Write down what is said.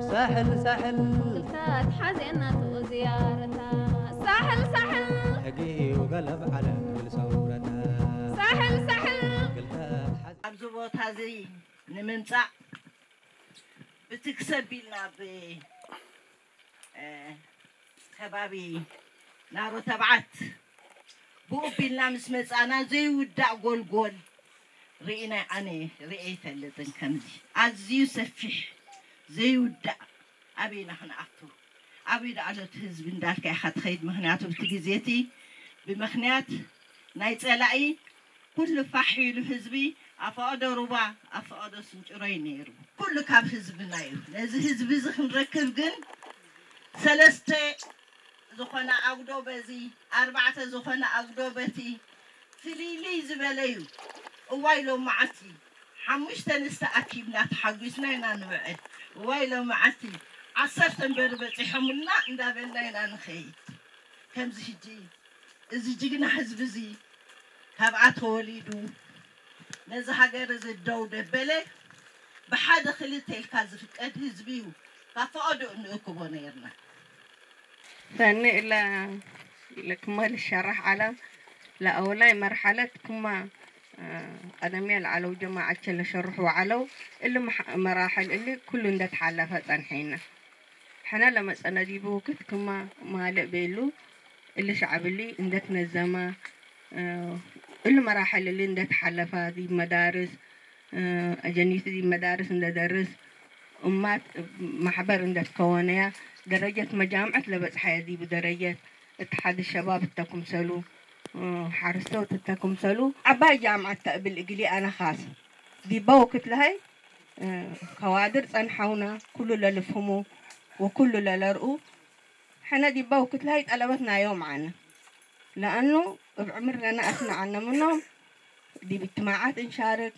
ሳሕል ሳሕል ክልታት ሓዜና ዝያረታ ሳሕል ሳሕል ሕጊ እዩ ገለብ ዓለም ብል ሰውረታ ሳሕል ሳሕል ክልታት ሓዝ ኣብዚ ቦታ እዚ ንምምፃእ ብትክሰብ ኢልና ብ እ፣ ከባቢ ናሮ ተብዓት ብኡ ቢልና ምስ መፃና ዘይውዳእ ጎልጎል ርኢና ኣነ ርኤ ይፈልጥን ከምዚ ኣዝዩ ሰፊሕ ዘይውዳእ ኣበይና ክንኣቱ ኣበይ ደኣሎት ህዝቢ እንዳልካ ኢኻ ትኸይድ ምክንያቱ ብቲ ግዜ እቲ ብምክንያት ናይ ፀላኢ ኩሉ ፋሕ ኢሉ ህዝቢ ኣፈቐዶ ሩባ ኣፈቐዶ ስንጭሮይ ነይሩ ኩሉ ካብ ህዝብና እዩ ነዚ ህዝቢ እዚ ክንረክብ ግን ሰለስተ ዝኾነ ኣጉዶ በዚ ኣርባዕተ ዝኾነ ኣጉዶ በቲ ፍልይልይ ዝበለ እዩ እዋይ ሎመዓልቲ ሓሙሽተ ንስተ ኣኪብና ተሓጒስና ኢና ንውዕል እዋይ ሎመዓልቲ ዓሰርተ እምበር በፂሖምልና እንዳበልና ኢና ንኸይድ ከምዚ ሕጂ እዚ ጅግና ህዝቢ እዚ ካብኣ ተወሊዱ ነዚ ሃገር እዚ ደው ደበለ ብሓደ ክልተ ኢልካ ዝፍቀድ ህዝቢ እዩ ካብ ፈቐድኡ ንእክቦ ነይርና ሰኒ እለ ለክማ ልሸራሕ ዓላ ለአውላይ መርሐለት ክማ ቀደምያ ለዓለው ጀማዓቸ ለሸርሑ ዓለው እሊ መራሕል እሊ ኩሉ እንደተሓለፈ ጸንሐይና ሕነ ለመጸነ ዲቡ ውክት ክማ ማልእ ቤሉ እሊ ሸዕብ እሊ እንደትነዘመ እሊ መራሕል እሊ እንደተሓለፈ ዲብ መዳርስ አጀኒት ዲብ መዳርስ እንደደርስ እማት ማሕበር እንደትከወነያ ደረጀት መጃምዐት ለበጽሐየ ዲቡ ደረጀት እትሓድ ሸባብ እተኩምሰሉ ሓርሰውት እተኩምሰሉ ዓባይ ጃምዓት ተእብል እግሊ ኣነ ኻስ ዲባ ወክት ለሀይ ከዋድር ጸንሐውና ኩሉ ለልፍህሙ ወኩሉ ለለርኡ ሕነ ዲባ ወክት ለሀይ ጠለበት ናዮም ዓነ ለአኑ እብ ዕምር ለነአስነ ዓነ ምኖም ዲብ እጅትማዓት እንሻርክ